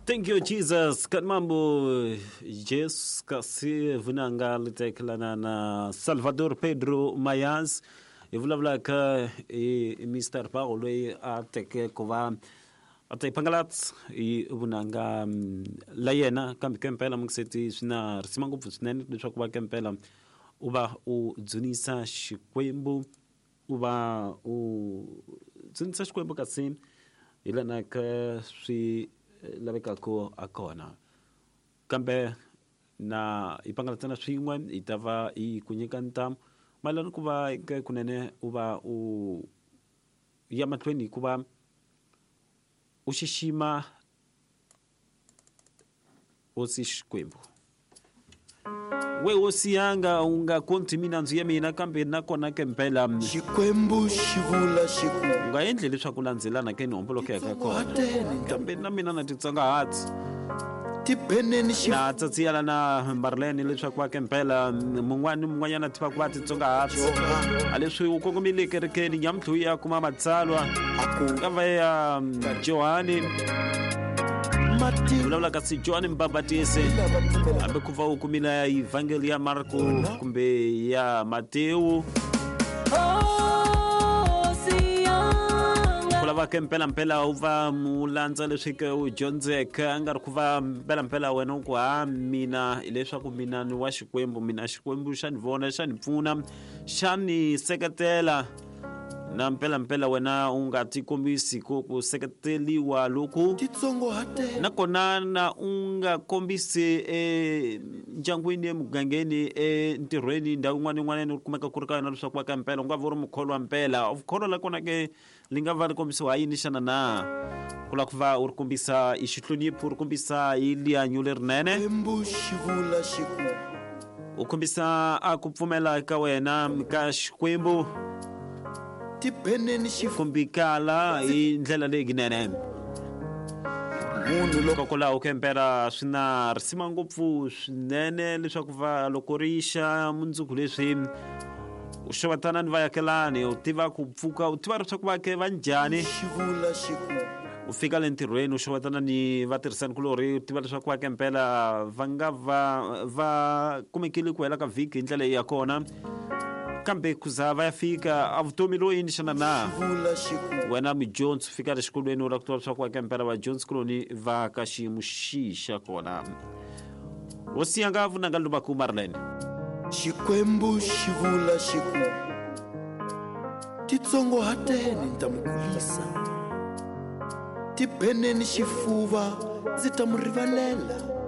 Thank you Jesus. Kanmambo Jesus kasi vunanga litekelana na Salvador Pedro Mayans hi vulavulaka hi Mr Paul loyi a teke ku va a ta yi phangalatsa hi vunanga la yena kambe ke mpela mungiseti swi na risima ngopfu swinene leswaku va ke mpela u va u dzunisa Xikwembu u va u dzunisa Xikwembu kasi hi lana ka swi lavekaka a kona kambe na hi pangalatsana swin'we hi ta va hi ku nyika ntamu mayelana ku va ke kunene u va u ya mahlweni hikuva u xixima hosi Xikwembu. We hosi yanga u nga konti minandzu ya mina kambe nakona ke mpela Xikwembu xi vula xi ku u nga endli leswaku landzelana ke ni hombolokeka kona kambe na mina na titsongahati Tibeneni xi na tsatsiyala na Marlene leswaku va ke mpela mun'wana ni mun'wanyana tiva ku va titsongahati a leswi u kongomile kerekeni nyamuntlha u ya kuma matsalwa ka va ya Johani vulavula kasi Johani Mbabatisi hambi ku va u kumile evhangeli ya Marko kumbe ya Matewu ku lava ke mpelampela u va mu landza leswi ke u dyondzeke a nga ri ku va mpelampela wena u ku ha mina hileswaku mina ni wa Xikwembu mina Xikwembu xa ni vona xa ni pfuna xa ni seketela na mpelampela wena u nga tikombisi ku ku seketeriwa loku nakona na u nga kombisi endyangwini emugangeni entirhweni ndhawu yin'wana yin'wana u kumeka ku ri ka yona leswaku va ka mpela u nga va u ri mukholwa mpela vukholwa la kona ke li nga va ri kombisiwa ha yini xana na ku lava ku va u ri kombisa hi xihlonipho u ri kombisa hi lihanyo lerinene u kombisa a ku pfumela ka wena ka Xikwembu Tibeneni xi kombikala hi ndlela leyinene munhu loko hikokwalaho ke mpela swi na risima ngopfu swinene leswaku va loko ri xa mundzuku leswi u xewetana ni vayakelani u tiva ku pfuka u tiva leswaku va ke va njhani xi vula xi ku u fika le ntirhweni u xewetana ni vatirhisani kulorhi u tiva leswaku va ke mpela va nga va va kumekile ku hela ka vhiki hi ndlela ya kona kambe ku za va ya fika a vutomi lo yini xana na vula xi ku wena mudyondzi u fika le xikolweni u lava ku tiva leswaku va ke mpela vadyondzi kuloni va ka xiyimo xihi xa kona hosi yanga vunanga luvaku Marlene Xikwembu xi vula xi ku titsongohateni ni ta mi kulisa tibeneni xifuva ndzi ta mu rivalela.